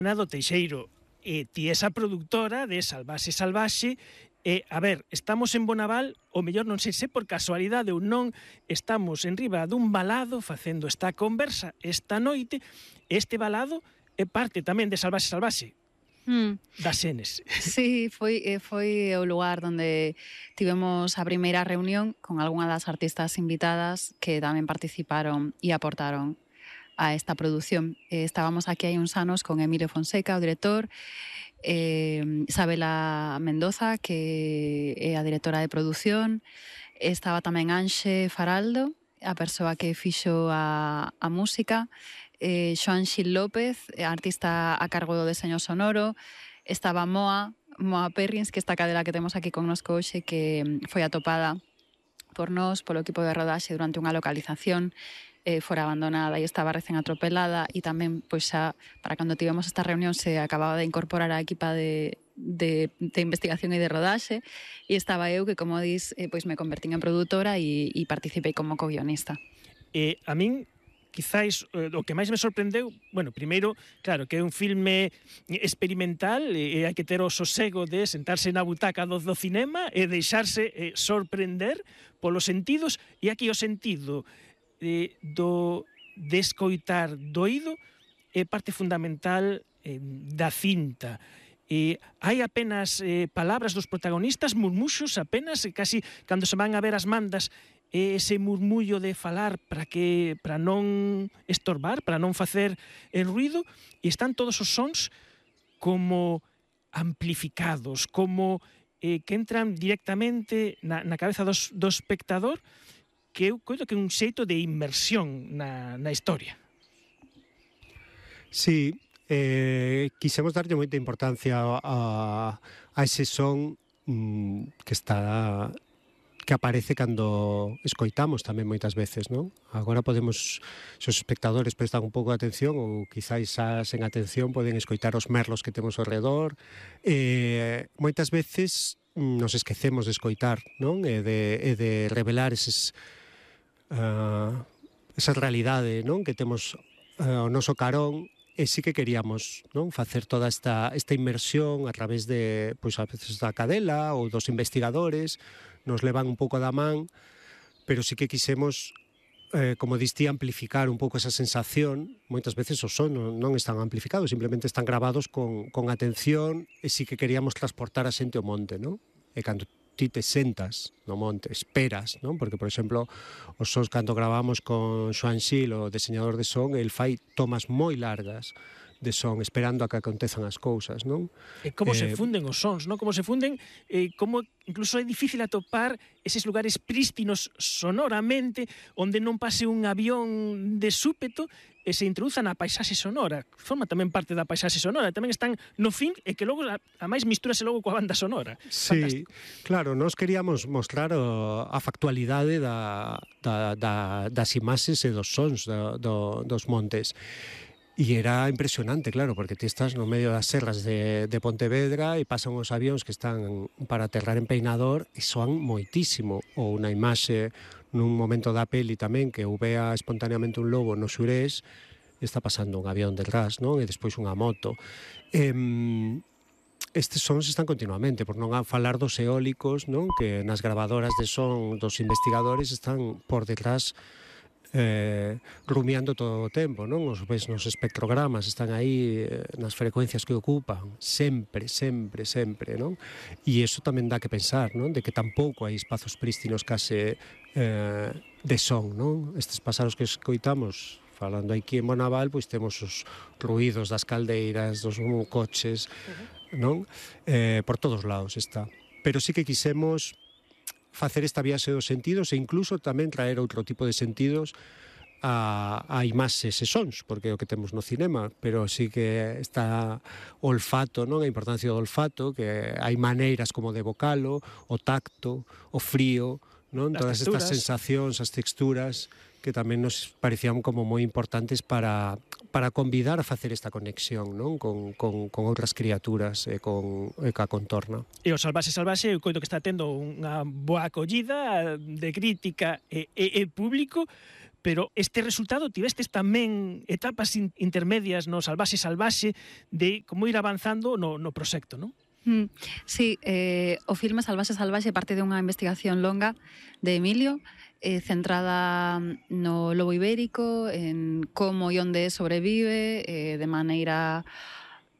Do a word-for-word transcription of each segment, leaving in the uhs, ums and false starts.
Nado Teixeiro, e ti esa produtora de Salvaxe Salvaxe, e, a ver, estamos en Bonaval, o mellor non sei se por casualidade ou non, estamos en riba dun balado facendo esta conversa esta noite, este balado é parte tamén de Salvaxe Salvaxe, Mm. das Xenes. Sí, foi, eh, foi o lugar onde tivemos a primeira reunión con algunha das artistas invitadas que tamén participaron e aportaron a esta produción. Eh, estábamos aquí hai uns anos con Emilio Fonseca, o director, eh, Isabela Mendoza, que é a directora de produción, estaba tamén Anxe Faraldo, a persoa que fixo a, a música, eh, Xoan Xil López, artista a cargo do deseño sonoro, estaba Moa, Moa Perrins, que esta cadela que temos aquí connosco hoxe, que foi atopada por nós, polo equipo de rodaxe durante unha localización, eh, fora abandonada e estaba recén atropelada, e tamén, pois xa, para cando tivemos esta reunión se acababa de incorporar a equipa de, de, de investigación e de rodaxe, e estaba eu que, como dis, eh, pois me convertín en produtora e, e participei como co-guionista. E a min, quizáis, o que máis me sorprendeu, bueno, primeiro, claro, que é un filme experimental e hai que ter o sosego de sentarse na butaca do, do cinema e deixarse eh, sorprender polos sentidos, e aquí o sentido eh, do de escoitar do oído é parte fundamental eh, da cinta. E hai apenas eh, palabras dos protagonistas, murmuxos apenas, e casi cando se van a ver as mandas, ese murmullo de falar para que para non estorbar, para non facer el ruido, e están todos os sons como amplificados, como eh, que entran directamente na, na cabeza dos, do espectador, que eu coido que é un xeito de inmersión na, na historia. Sí, eh, quixemos darlle moita importancia a, a ese son mm, que está... que aparece cando escoitamos tamén moitas veces, non? Agora podemos, se os espectadores prestan un pouco de atención, ou quizáis xa sen atención poden escoitar os merlos que temos ao redor. Eh, moitas veces nos esquecemos de escoitar, non? E de, e de revelar eses, uh, esa realidade, non? Que temos uh, o noso carón, e sí que queríamos, non, facer toda esta, esta inmersión a través de, pois, a veces da cadela ou dos investigadores, nos levan un pouco da man, pero sí que quisemos, eh, como distí, amplificar un pouco esa sensación. Moitas veces os son non, non están amplificados, simplemente están gravados con, con atención, e sí que queríamos transportar a xente ao monte, non? E cando ti te sentas no monte, esperas, non? Porque, por exemplo, os sons cando gravamos con Xoan Xil, o diseñador de son, el fai tomas moi largas de son, esperando a que acontezan as cousas, non? E como eh, se funden os sons, non? Como se funden, eh, como incluso é difícil atopar eses lugares prístinos sonoramente, onde non pase un avión de súpeto e se introduza na paisaxe sonora. Forma tamén parte da paisaxe sonora, tamén están no fin, e que logo, a, a máis, mistúrase logo coa banda sonora. Sí, fantástico. Claro, nós queríamos mostrar o, a factualidade da, da, da, das imaxes e dos sons do, do, dos montes. E era impresionante, claro, porque ti estás no medio das serras de, de Pontevedra e pasan os avións que están para aterrar en Peinador e soan moitísimo. Ou unha imaxe nun momento da peli tamén que eu vea espontaneamente un lobo no xurés e está pasando un avión detrás, non? E despois unha moto. E, estes sons están continuamente, por non a falar dos eólicos, non? Que nas gravadoras de son dos investigadores están por detrás eh, rumiando todo o tempo, non? Os ves nos espectrogramas, están aí eh, nas frecuencias que ocupan, sempre, sempre, sempre, non? E iso tamén dá que pensar, non? De que tampouco hai espazos prístinos case eh, de son, non? Estes pasaros que escoitamos, falando aquí en Bonaval, pois temos os ruídos das caldeiras, dos coches, non? Eh, por todos lados está. Pero sí que quisemos facer esta viaxe dos sentidos e incluso tamén traer outro tipo de sentidos a, a imaxes e sons, porque é o que temos no cinema, pero sí que está o olfato, non? A importancia do olfato, que hai maneiras como de evocalo, o tacto, o frío, non? Todas estas sensacións, as texturas, que tamén nos parecían como moi importantes para, para convidar a facer esta conexión, non? Con, con, con outras criaturas e con e ca contorna. E o Salvaxe Salvaxe, eu coito que está tendo unha boa acollida de crítica e, e, e público, pero este resultado tivestes tamén etapas in, intermedias no Salvaxe Salvaxe de como ir avanzando no, no proxecto, non? Mm, sí, eh, o filme Salvaxe Salvaxe parte de unha investigación longa de Emilio, eh, centrada no lobo ibérico, en como e onde sobrevive, eh, de maneira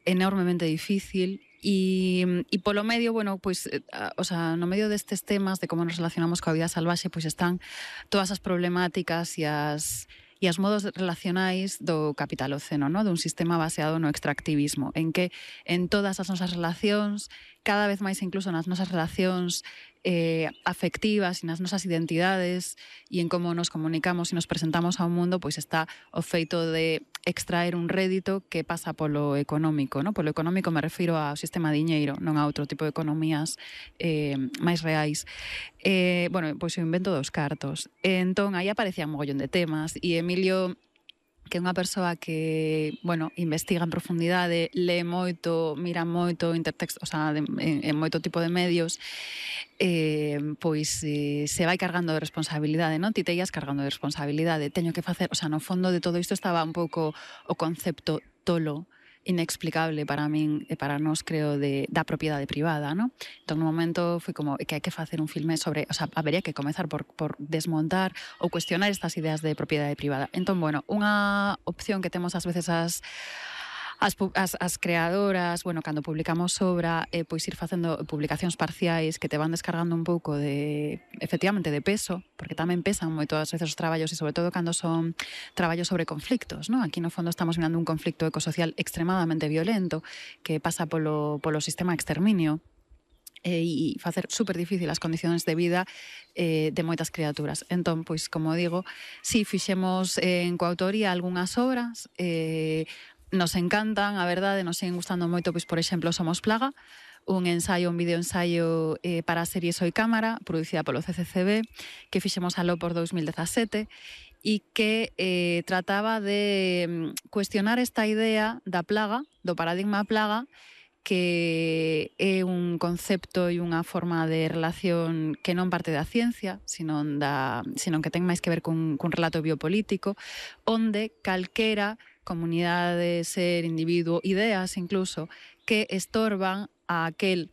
enormemente difícil. E, e polo medio, bueno, pois, eh, o sea, no medio destes temas de como nos relacionamos coa vida salvaxe, pois están todas as problemáticas e as e as modos relacionais do capitaloceno, no? Dun sistema baseado no extractivismo, en que en todas as nosas relacións, cada vez máis incluso nas nosas relacións eh, afectivas e nas nosas identidades e en como nos comunicamos e nos presentamos ao mundo, pois está o feito de extraer un rédito que pasa polo económico, no? Polo económico me refiro ao sistema diñeiro, non a outro tipo de economías eh, máis reais. Eh, bueno, pois o invento dos cartos. Entón, aí aparecían un mogollón de temas e Emilio, que é unha persoa que, bueno, investiga en profundidade, lee moito, mira moito, intertexto, o sea, de, en, en moito tipo de medios, eh, pois eh, se vai cargando de responsabilidade, non? Ti te ias cargando de responsabilidade, teño que facer, o sea, no fondo de todo isto estaba un pouco o concepto tolo, inexplicable para min e para nós, creo, de, da propiedade privada, non? Entón, no momento, foi como que hai que facer un filme sobre, o sea, habería que comezar por, por desmontar ou cuestionar estas ideas de propiedade privada. Entón, bueno, unha opción que temos ás veces as As, as, as creadoras, bueno, cando publicamos obra, eh, pois ir facendo publicacións parciais que te van descargando un pouco de, efectivamente, de peso, porque tamén pesan moito as veces os traballos e sobre todo cando son traballos sobre conflictos, non? Aquí no fondo estamos mirando un conflicto ecosocial extremadamente violento que pasa polo, polo sistema exterminio e facer super difícil as condicións de vida eh, de moitas criaturas. Entón, pois, como digo, si fixemos eh, en coautoría algunhas obras, eh, nos encantan, a verdade, nos siguen gustando moito, pois, por exemplo, Somos Plaga, un ensaio, un videoensaio eh, para a serie Soy Cámara, producida polo C C C B, que fixemos aló por dos mil dezasete, e que eh, trataba de cuestionar esta idea da plaga, do paradigma plaga, que é un concepto e unha forma de relación que non parte da ciencia, sino, da, sino que ten máis que ver cun, cun relato biopolítico, onde calquera comunidade, ser, individuo, ideas incluso, que estorban a aquel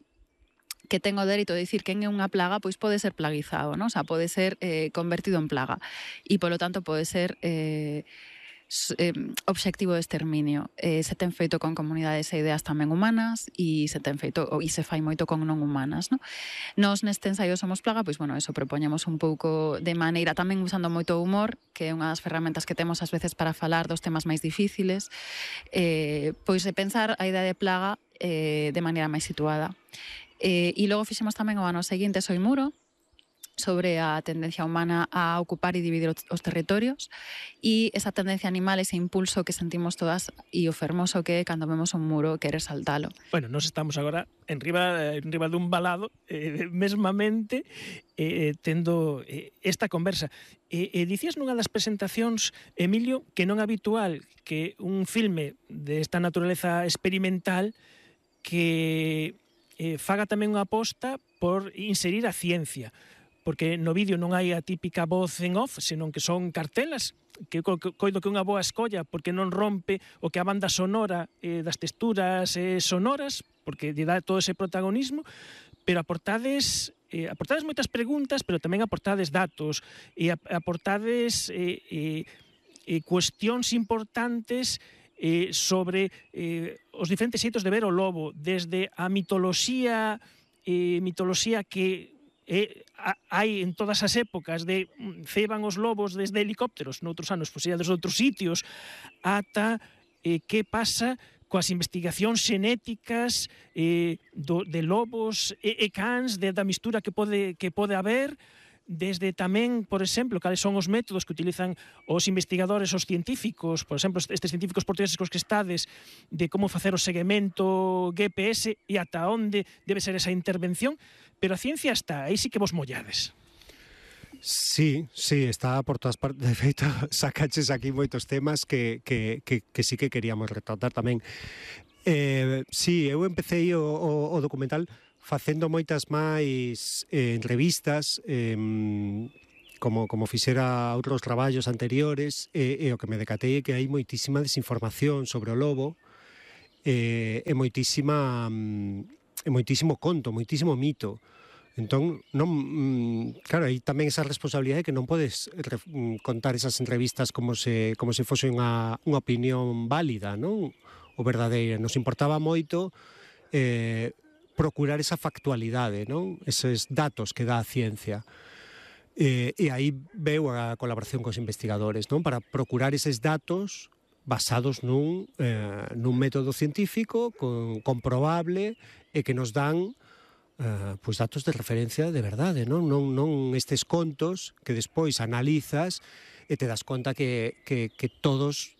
que ten o dereito de dicir quen é unha plaga, pois pode ser plaguizado, non? O sea, pode ser eh, convertido en plaga e, polo tanto, pode ser eh, eh, obxectivo de exterminio. Eh, se ten feito con comunidades e ideas tamén humanas e se ten feito, e se fai moito con non humanas, non? Nos neste ensaio Somos Plaga, pois, bueno, eso propoñemos un pouco de maneira, tamén usando moito humor, que é unha das ferramentas que temos ás veces para falar dos temas máis difíciles, eh, pois de pensar a idea de plaga eh, de maneira máis situada. Eh, e logo fixemos tamén o ano seguinte Soy Muro, sobre a tendencia humana a ocupar e dividir os territorios e esa tendencia animal, ese impulso que sentimos todas e o fermoso que é cando vemos un muro querer saltalo. Bueno, nos estamos agora en riba, en riba dun balado, eh, mesmamente, eh, tendo eh, esta conversa. E eh, eh, dicías nunha das presentacións, Emilio, que non é habitual que un filme desta naturaleza experimental que eh, faga tamén unha aposta por inserir a ciencia, porque no vídeo non hai a típica voz en off, senón que son cartelas, que coido que unha boa escolla, porque non rompe o que a banda sonora eh, das texturas eh, sonoras, porque lle dá todo ese protagonismo, pero aportades, eh, aportades moitas preguntas, pero tamén aportades datos, e aportades eh, eh, eh, cuestións importantes eh, sobre eh, os diferentes xeitos de ver o lobo, desde a mitoloxía, eh, mitoloxía que Eh, hai en todas as épocas de ceban os lobos desde helicópteros, noutros anos pois, desde outros sitios, ata eh, que pasa coas investigacións xenéticas eh, do, de lobos e, e cans, de, da mistura que pode, que pode haber, desde tamén, por exemplo, cales son os métodos que utilizan os investigadores, os científicos, por exemplo, estes científicos portugueses cos que estades, de como facer o seguimento G P S e ata onde debe ser esa intervención, pero a ciencia está, aí sí que vos mollades. Sí, sí, está por todas partes. De feito, sacaches aquí moitos temas que, que, que, que sí que queríamos retratar tamén. Eh, sí, eu empecé o, o, o documental facendo moitas máis eh, entrevistas, eh, como, como fixera outros traballos anteriores, e, e o que me decatei é que hai moitísima desinformación sobre o lobo, e, e moitísima, e moitísimo conto, moitísimo mito. Entón, non, claro, hai tamén esa responsabilidade que non podes contar esas entrevistas como se, como se fose unha, unha opinión válida, non? O verdadeira. Nos importaba moito eh, procurar esa factualidade, non? Eses datos que dá a ciencia. E, e aí veu a colaboración cos investigadores, non? Para procurar eses datos basados nun, eh, nun método científico con, comprobable e que nos dan eh, pois datos de referencia de verdade, non? Non, non estes contos que despois analizas e te das conta que, que, que todos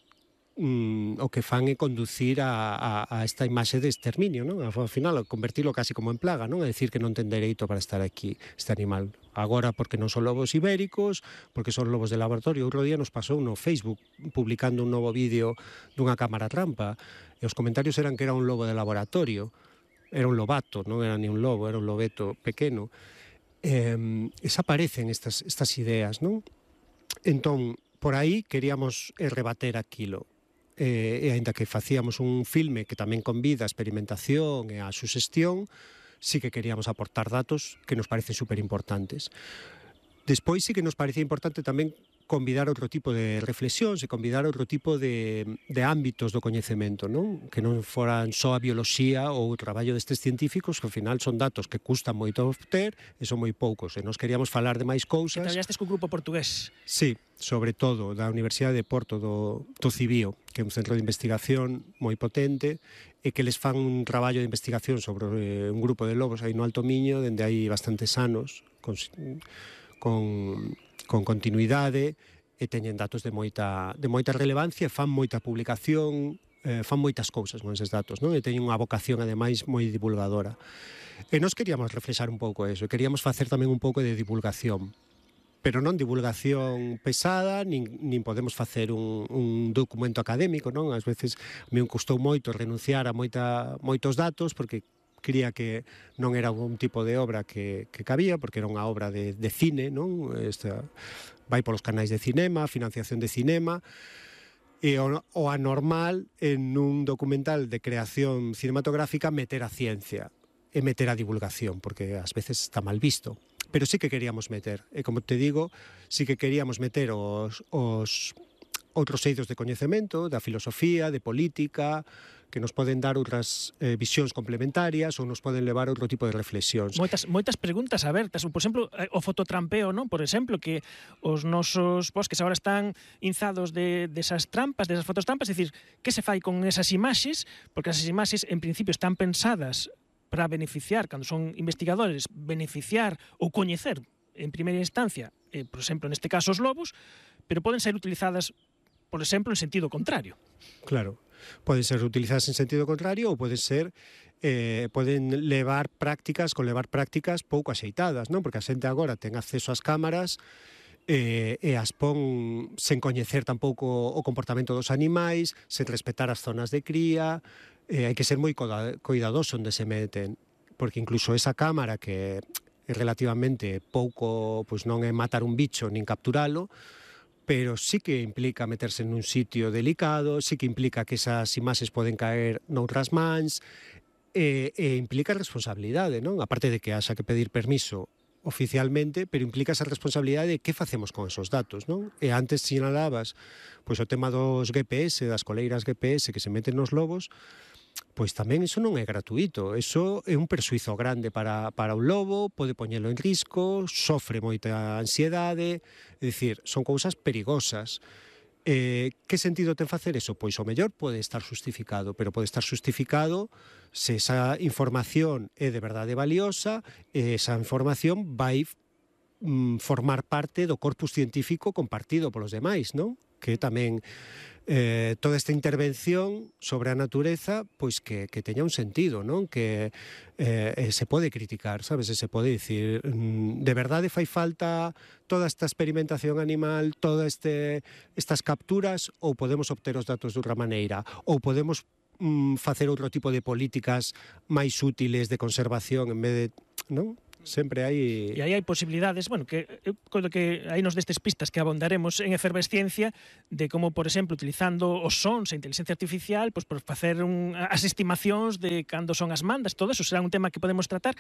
mm, o que fan é conducir a, a, a esta imaxe de exterminio, non? Ao final, convertilo casi como en plaga, non? A decir que non ten dereito para estar aquí este animal. Agora porque non son lobos ibéricos, porque son lobos de laboratorio. Outro día nos pasou no Facebook publicando un novo vídeo dunha cámara trampa e os comentarios eran que era un lobo de laboratorio. Era un lobato, non era ni un lobo, era un lobeto pequeno. Eh, desaparecen estas, estas ideas, non? Entón, por aí queríamos rebater aquilo. E, e aínda que facíamos un filme que tamén convida a experimentación e a suxestión, sí que queríamos aportar datos que nos parecen superimportantes. Despois sí que nos parecía importante tamén convidar outro tipo de reflexións e convidar outro tipo de, de ámbitos do coñecemento, non? Que non foran só a bioloxía ou o traballo destes científicos, que ao final son datos que custan moito obter e son moi poucos. E nos queríamos falar de máis cousas. Que traballastes cun grupo portugués. Sí, sobre todo da Universidade de Porto do, do Cibío, que é un centro de investigación moi potente e que les fan un traballo de investigación sobre eh, un grupo de lobos aí no Alto Miño, dende hai bastantes anos, con, con, con continuidade, e teñen datos de moita, de moita relevancia, e fan moita publicación, eh, fan moitas cousas con eses datos, non? E teñen unha vocación, ademais, moi divulgadora. E nós queríamos reflexar un pouco eso, e queríamos facer tamén un pouco de divulgación, pero non divulgación pesada, nin, nin podemos facer un, un documento académico, non? Ás veces a mí me custou moito renunciar a moita, moitos datos, porque cría que non era un tipo de obra que, que cabía, porque era unha obra de, de cine, non? Esta, vai polos canais de cinema, financiación de cinema, e o, o anormal en un documental de creación cinematográfica meter a ciencia e meter a divulgación, porque ás veces está mal visto. Pero sí que queríamos meter, e como te digo, sí que queríamos meter os, os outros eidos de coñecemento, da filosofía, de política, que nos poden dar outras eh, visións complementarias ou nos poden levar a outro tipo de reflexións. Moitas, moitas preguntas abertas. Por exemplo, o fototrampeo, non? Por exemplo, que os nosos bosques agora están inzados de, desas trampas, desas fototrampas, é dicir, que se fai con esas imaxes? Porque esas imaxes, en principio, están pensadas para beneficiar, cando son investigadores, beneficiar ou coñecer, en primeira instancia, eh, por exemplo, neste caso, os lobos, pero poden ser utilizadas, por exemplo, en sentido contrario. Claro. Poden ser utilizadas en sentido contrario ou poden ser eh, poden levar prácticas, con levar prácticas pouco axeitadas, non? Porque a xente agora ten acceso ás cámaras eh, e as pon sen coñecer tampouco o comportamento dos animais, sen respetar as zonas de cría, eh, hai que ser moi cuidadoso onde se meten, porque incluso esa cámara que é relativamente pouco, pois non é matar un bicho nin capturalo, pero sí que implica meterse nun sitio delicado, sí que implica que esas imaxes poden caer noutras mans, e, e implica responsabilidade, non? Aparte de que haxa que pedir permiso oficialmente, pero implica esa responsabilidade de que facemos con esos datos, non? E antes sinalabas pois, o tema dos G P S, das coleiras G P S que se meten nos lobos, pois tamén iso non é gratuito, iso é un persuizo grande para, para un lobo, pode poñelo en risco, sofre moita ansiedade, é dicir, son cousas perigosas. Eh, que sentido ten facer eso? Pois o mellor pode estar justificado, pero pode estar justificado se esa información é de verdade valiosa, e esa información vai mm, formar parte do corpus científico compartido polos demais, non? Que tamén eh, toda esta intervención sobre a natureza, pois que, que teña un sentido, non? Que eh, se pode criticar, sabes? Se pode dicir, mm, de verdade fai falta toda esta experimentación animal, todas este, estas capturas, ou podemos obter os datos de outra maneira, ou podemos mm, facer outro tipo de políticas máis útiles de conservación en vez de, non? sempre hai... E aí hai posibilidades, bueno, que eu coido que hai nos destes pistas que abondaremos en efervesciencia de como, por exemplo, utilizando os sons e inteligencia artificial, pois por facer un, as estimacións de cando son as mandas, todo eso será un tema que podemos tratar,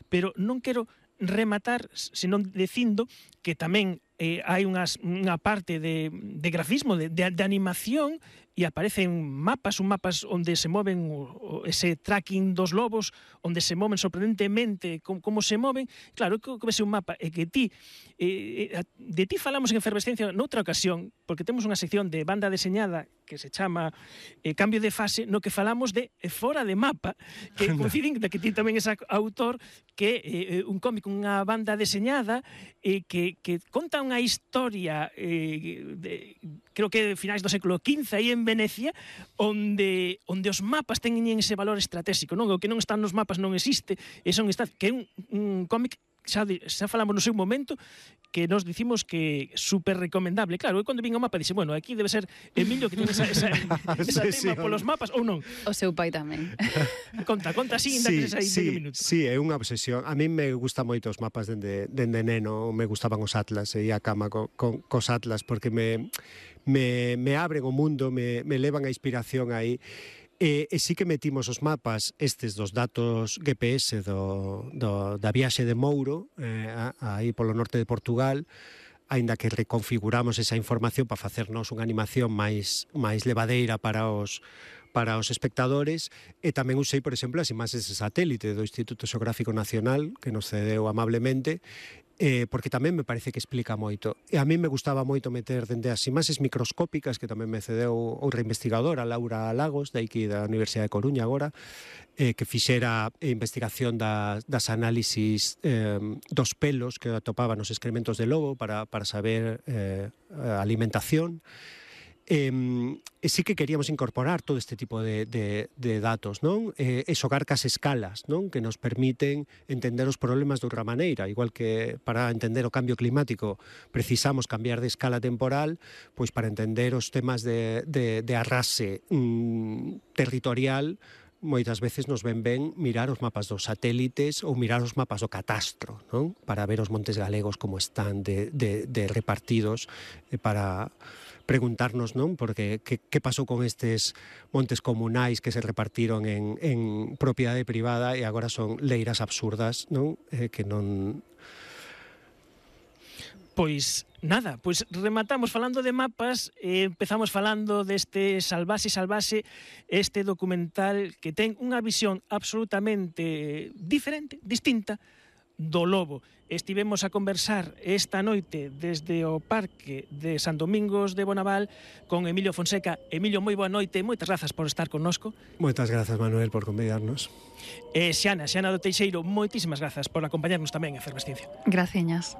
pero non quero rematar senón dicindo que tamén eh, hai unhas, unha parte de, de grafismo, de, de, de animación, e aparecen mapas, un mapas onde se moven o, o, ese tracking dos lobos, onde se moven sorprendentemente como, como se moven. Claro, que, que ese un mapa é que ti eh, de ti falamos en efervescencia noutra ocasión, porque temos unha sección de banda deseñada que se chama eh, Cambio de Fase, no que falamos de eh, Fora de Mapa, que coinciden que ti tamén és autor, que é eh, un cómic, unha banda deseñada eh, que, que conta unha historia eh, de, creo que de finais do século quince aí en Venecia, onde onde os mapas teñen ese valor estratégico, non? O que non está nos mapas non existe, e son está, que é un, un cómic xa, xa falamos no seu momento, que nos dicimos que super recomendable. Claro, eu cando vin o mapa dixe, bueno, aquí debe ser Emilio que ten esa, esa, esa sí, tema sí, polos mapas, ou non? O seu pai tamén. Conta, conta así, ainda Sí, que aí sí, medio minuto. sí, é unha obsesión. A mí me gusta moito os mapas dende, dende neno, me gustaban os atlas, e ia a cama co, co, cos atlas, porque me, me, me abren o mundo, me, me levan a inspiración aí. E, e sí que metimos os mapas estes dos datos G P S do, do, da viaxe de Mouro, eh, aí polo norte de Portugal, aínda que reconfiguramos esa información para facernos unha animación máis, máis levadeira para os para os espectadores, e tamén usei, por exemplo, as imaxes de satélite do Instituto Xeográfico Nacional, que nos cedeu amablemente, eh, porque tamén me parece que explica moito. E a mí me gustaba moito meter dende as imaxes microscópicas, que tamén me cedeu outra investigadora, Laura Lagos, de aquí da Universidade de Coruña agora, eh, que fixera investigación das, das análisis eh, dos pelos que atopaba nos excrementos de lobo para, para saber eh, a alimentación. E, e sí que queríamos incorporar todo este tipo de, de, de datos, non? E, e xogar cas escalas, non? Que nos permiten entender os problemas de outra maneira. Igual que para entender o cambio climático precisamos cambiar de escala temporal, pois para entender os temas de, de, de arrase mm, territorial, moitas veces nos ven ben mirar os mapas dos satélites ou mirar os mapas do catastro, non? Para ver os montes galegos como están de, de, de repartidos, e para preguntarnos, non? Porque que, que pasou con estes montes comunais que se repartiron en, en propiedade privada e agora son leiras absurdas, non? Eh, que non... Pois nada, pois rematamos falando de mapas, eh, empezamos falando deste Salvaxe Salvaxe, este documental que ten unha visión absolutamente diferente, distinta, do lobo. Estivemos a conversar esta noite desde o Parque de San Domingos de Bonaval con Emilio Fonseca. Emilio, moi boa noite, moitas grazas por estar connosco. Moitas grazas, Manuel, por convidarnos. E Xiana, Xiana do Teixeiro, moitísimas grazas por acompañarnos tamén en Efervesciencia. Graciñas.